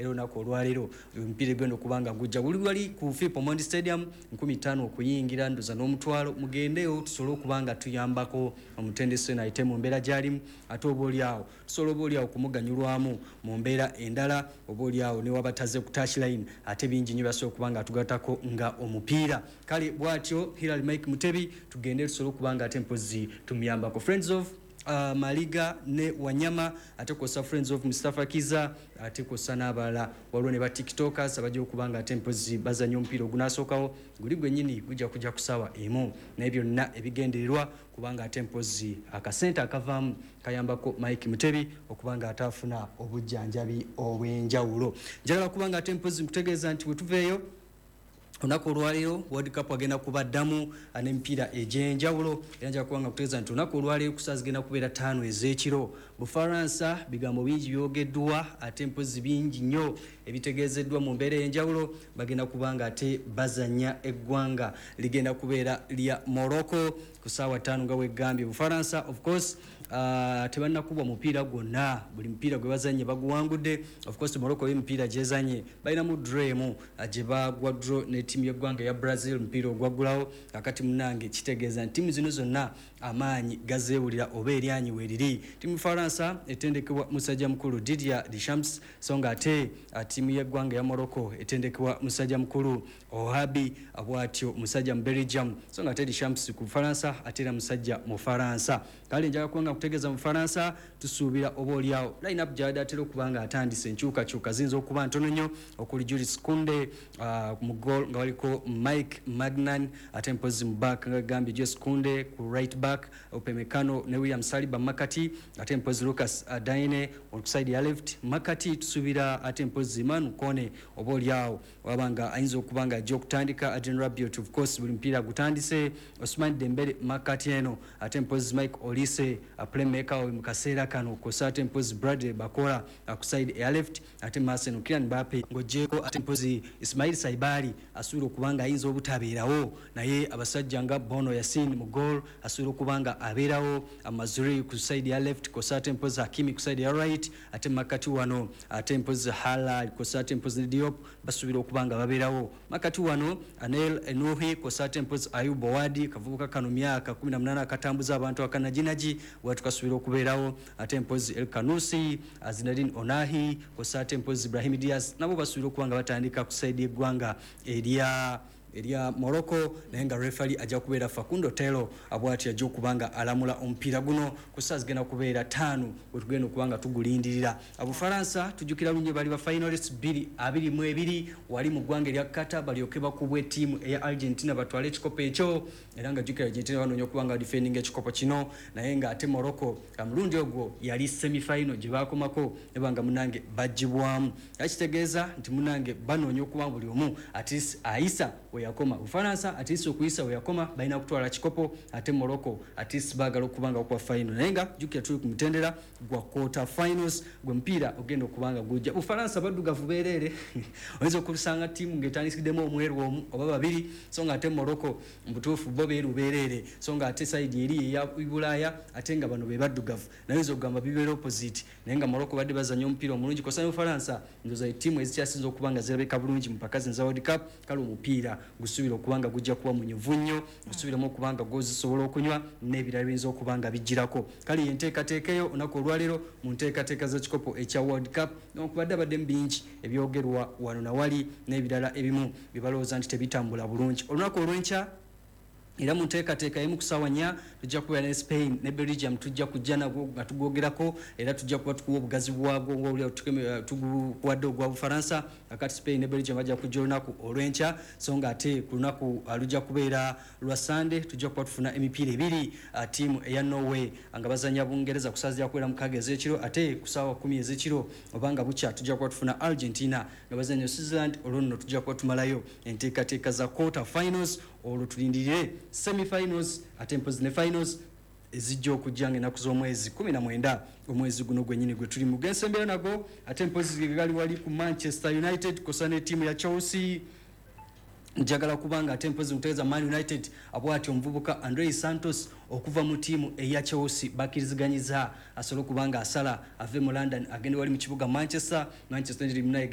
Era olunaku olwaleero omupiira egenda okuba nga gujja guli wali ku Philip Omondi Stadium, 5000 okuyingira, ndoza n'omutwalo. Mugendeyo tusobole okuba nga tuyambako omutendesi ono ayite mu mbeera gy'alimu, ate oba oliawo tusobola oba oliawo kumuganyulwamu mu mbeera endala, oba oliawo ne wabataze ku touchline, ate bingi nnyo basobola okuba nga tugattako nga omupiira. Kale bw'atyo Hilary Mike Mutebi, tugende tusobole okuba nga ate mpozi tumuyambako. Friends of Maliga ne Wanyama, ate kwosa Friends of Mustafa Kiza, ate kwosa n'abalala. Waliwo ne ba TikTokers abajja okuba nga ate mpozi bazanya omupiira ogunasookawo guli gwennyini, gujja kujja ku ssaawa 1, naye byonna ebigendererwa kubanga ate mpozi akasente akavaamu kayambako Mike Mutebi okuba nga ate afuna obujjanjabi obw'enjawulo. Njagala kuba nga ate mpozi nkutegeeza nti bwe tuveeyo olunaku olwaleero, World Cup agenda kubaddamu n'emipiira egy'enjawulo. Era nja kuba nga kutegeeza nti olunaku olwaleero ku saa zigenda kubeera 5 ez'ekiro, Bufaransa, bigambo bingi byogeddwa, ate mpozi bingi nnyo ebitegeezeddwa mu mbeera ey'enjawulo. Bagenda kuba nga ate bazanya, eggwanga ligenda kubeera lya Morocco ku ssaawa 5 nga wegambye. Bufaransa of course tebannakubwa mupiira gwonna, buli mupiira gwe bazanye baguwangudde. Of course Morocco emipiira gyezanye balinamu draw emu gye bagwa draw ne ttiimu y'eggwanga eya Brazil, mupiira ogwaggulawo. Kakati munange kitegeeza nti ttiimu zino zonna amaanyi gazeewulira oba eryanyi weeriri. Ttiimu Faransa etendekebwa musajja mukulu Didier Deschamps, so nga ate ttiimu y'eggwanga eya Morocco etendekebwa musajja mukulu Ouahabi, bw'atyo musajja mu Belgium, so nga ate Deschamps ku Faransa ate era musajja mu Faransa. Kale njagala kubanga kutegeeza mu Faransa tusuubira oba oliawo line up gyabadde atera okuba nga atandise, enkyukakyuka ziyinza okuba ntono nnyo, okuli Jules Kounde mu goal nga waliko Mike Maignan, ate mpozi mu back nga gambye Jules Kounde ku right back, Upamecano ne William Saliba makati, ate mpozi Lucas Digne ku side ya left makati. Tusuubira ate mpozi Manu Kone oba oliawo wabanga ayinza okuba nga ajja okutandika. Adrien Rabiot of course buli mupiira gutandise. Ousmane Dembele makati eno, ate mpozi Mike Olise playmaker we mu kaseera kano, kosa ate mpozi Bradley Barcola ku side eya left, ate maaso eno Kylian Mbappe. Ng'oggyeko ate mpozi Ismail Saibari asuubira okuba nga ayinza obutabeerawo, naye abasajja nga Bono Yasin mu goal asuubira okuba nga abeerawo, Mazraoui ku side ya left, kosa ate mpozi Hakimi ku side ya right, ate makati wano ate mpozi Haller kosa ate mpozi Diop basuubira okuba nga babeerawo. Makati wano Anel Enuhi kosa ate mpozi Ayyoub Bouaddi, kavubuka kano myaka 18 akatambuza abantu akanaginagi, bwatu kasuubira okubeerawo, ate mpozi El Khannouss, Azzedine Ounahi kosa ate mpozi Brahim Diaz nabo basuubira okuba nga batandika ku side y'eggwanga erya Morocco, naye nga refali ajja kubeera Facundo Telo, bwati ajja okuba nga alamula omupiira guno ku saa zigenda kubeera 5 wetugenda okuba nga tugulindirira. Abufaransa tujjukira lunye bali ba finalists 2022 wali mu ggwanga erya Qatar, balyoke bakubwa ettiimu eya Argentina batwale ekikopo ekyo. Era nga jjukira Argentina banoonya okuba nga defending ekikopo kino, naye nga ate Morocco mulundi ogwo yali semifinal gye bakomako nebanga munange bagibwamu. Kitegeeza nti munange banoonya okuba buli omu at least ayisa weyakoma. Bufaransa at least okuyisa weyakoma balina kutwala kikopo, ate Morocco at least baagala okuba nga bakuba final, naye nga jjukira tuli ku mutendera gwa quarter finals gwe mupiira ogenda okuba nga gujja. Bufaransa baddugavu beereere, oyinza okusanga ttiimu ng'etandikiddemu omweru omu oba babiri, so nga ate Morocco mubutuufu bo beeru beereere, so nga ate side eri eya Bulaaya ate nga bano be baddugavu, naye oyinza okugamba bibeera opposite. Naye nga Morocco badde bazanya omupiira omulungi kosa ne Bufaransa, ndoza ettiimu ezikyasinza okuba nga zirabika bulungi mu paka zino za World Cup. Kale omupiira gusuubira okuba nga gujja kuba munyuvu nnyo, gusuubiramu okuba nga gozisobola okunywa n'ebirala biyinza okuba nga bijjirako. Kale yenteekateeka eyo olunaku olwaleero mu nteekateeka z'ekikopo ekya World Cup, newankubadde abaddemu bingi ebyogerwa wano nawali n'ebirala ebimu bye balowooza nti tebitambula bulungi. Olunaku olw'enkya era mu nteekateeka emu ku ssaawa 4 tujja kubeera ne Spain ne Belgium, tujja kujja nagwo nga tugwogerako, era tujja kuba tukuwa obugazi bwagwo ngaolya tuguwadde ogwa Bufaransa. Akati Spain ne Belgium bajja kujja olunaku olw'enkya, so nga ate ku lunaku lujja kubeera lwa Sande tujja kuba tufuna emipiira ebiri, ttiimu eya Norway nga bazanya Bungereza ku ssaawa zijja kubeera 6 ez'ekiro, ate ku ssaawa 10 ez'ekiro obanga bukya tujja kuba tufuna Argentina nga bazanya Switzerland. Olwo nno tujja kuba tumalayo enteekateeka za quarter finals, olwo tulindirire semifinals ate mpozi ne finals ezijja okujja nga ennaku z'omwezi 19 omwezi guno gwennyini gwe tuli mu gensembera nago. Ate mpozi gali wali ku Manchester United kosa ne ttiimu ya Chelsea. Njagala kubanga ate mpozi mutegeeza Man United abwati omuvubuka Andre Santos okuva mu ttiimu eya Chelsea bakkiriziganyiza asobole okuba nga asala ave mu London agende wali mu kibuga Manchester. Manchester United munaye.